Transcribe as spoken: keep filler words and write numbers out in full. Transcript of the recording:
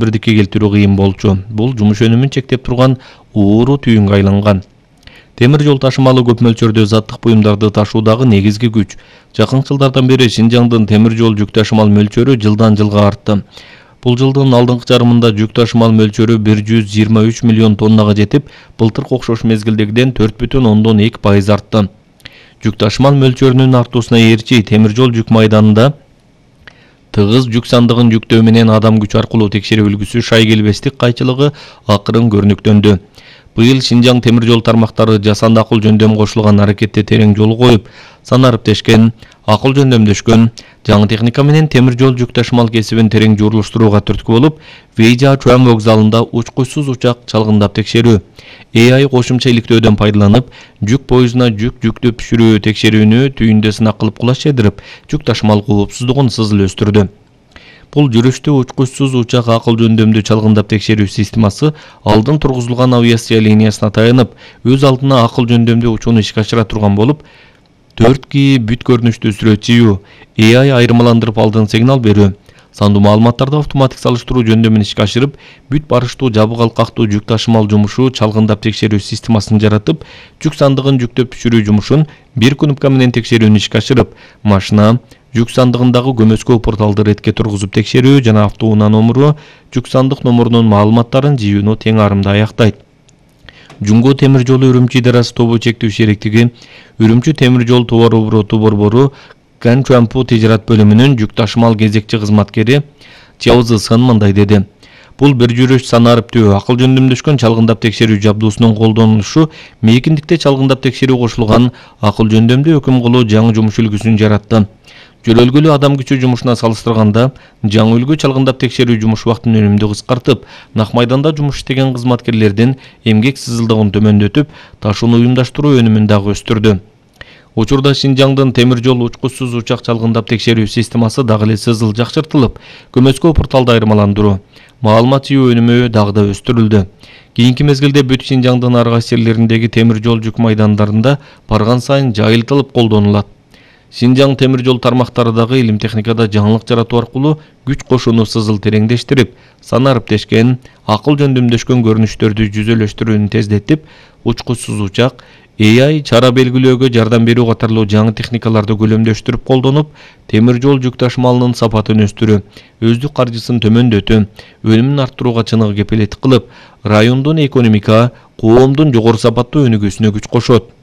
бирдикке келтирүү кыйын болчу. Бул жумуш өнүмүн чектеп турган ууру түйүнгө айланган. Темир жол ташымалы көп мөлчөрдө заттык буюмдарды ташуудагы негизги күч. Жакын жылдардан бери Шинжаңдын темир жол жүк ташымал мөлчөрү жылдан жылга артты. Бул жылдын алдыңкы жарымында жүк ташымал мөлчөрү бир жүз жыйырма үч миллион тоннага жетип, былтыркы окшош мезгилдегиден төрт бүтүн ондон эки пайыз артты. Жүк ташымал мөлчөрүнүн артуусуна ээрчи темир жол жүк майданында тыгыз жүк сандыгын жүктөө менен адам күч аркылуу текшерүү үлгүсү шай келбестик кайчылыгы акырын көрүнүктөндү. Быйыл Шинжаң темир жол тармактары жасанды акыл жөндөм кошулган аракетте терең жол коюп, санариптешкен, акыл жөндөмдөшкөн, жаңы техника менен темир жол жүк ташымал кесибин терең журулуштурууга түрткү болуп, Вейжа-Чуан вокзалында учкучсуз учак чалгындап текшерүү, эй ай кошумча иликтөөдөн пайдаланып, жүк поездуна жүк жүктү түшүрүү текшерүүнү түйүндө сынак кылып кулаш жедирип, жүк ташымал коопсуздугун сызыл өстүрдү. Бул жүрүштүү учкучсуз учак акыл жөндөмдүү чалгындап текшерүү системасы алдын тургузулган авиация линиясына таянып, өз алдына акыл жөндөмдүү учууну ишке ашыра турган болуп, төрт ки бүт көрүнүштүү сүрөт чыюу, эй ай айырмаландырып алдын сигнал берүү, сандуу маалыматтарды автоматик салыштыруу жөндөмүн ишке ашырып, бүт барыштуу жабык алкактуу жүк ташымал жумушу чалгындап текшерүү системасын жаратып, жүк сандыгын жүктөп түшүрүү жумушун бир кнопка менен текшерүүнү ишке ашырып, машина жүк сандыгындагы көмөскө порталды ретке тургузуп текшерүү жана автоунаа номуру, жүк сандык номурунун маалыматтарын жыюуну тең арымда аяктайт. Жумго темир жолу Үрүмчү идарасы тобу чектүү шериктиги, Үрүмчү темир жол товар обороту борбору Канчуанпу тижарат бөлүмүнүн жүк ташымал кезекчи кызматкери Чаузы Сын мындай деди. Бул бир жүрүш санариптүү акыл жөндөмдөшкөн чалгындап текшерүү жабдуусунун колдонулушу мейкиндикте чалгындап текшерүү кошулган акыл жөндөмдүү өкүм кылуу жаңы жумуш үлгүсүн жаратты. Жөлөлгөлүү адам күчү жумушуна салыштырганда, жаңы үлгү чалгындап текшерүү жумуш убактын өнүмдү кыскартып, нак майданда жумуш иштеген кызматкерлердин эмгек сызылдыгын төмөндөтүп, ташууну уюмдаштыруу өнүмүн дагы өстүрдү. Учурда Шинжаңдын темир жол учкучсуз учак чалгындап текшерүү системасы дагы эле сызыл жакшыртылып, көмөскө порталды айырмаландыруу, маалымат жыюу өнүмү дагы да өстүрүлдү. Кийинки мезгилде бүт Шинжаңдын ар кайсы жерлериндеги темир жол жүк майдандарында барган сайын жайылтылып колдонулат. Шинжаң темир жол тармактары дагы илим техникада жаңылык жаратуу аркылуу күч кошууну сызыл тереңдештирип, санариптешкен, акыл жөндөмдөшкөн көрүнүштөрдү жүзөлөштүрүүнү тездетип, учкучсуз учак, эй ай чара белгилөөгө жардам берүү катарлуу жаңы техникаларды көлөмдөштүрүп колдонуп, темир жол жүк ташымалынын сапатын өстүрүү, өздүк каржысын төмөндөтүү, өнүмүн арттырууга чыныгы кепилеттик кылып, райондун экономика, коомдун жогору сапаттуу өнүгүүсүнө күч кошот.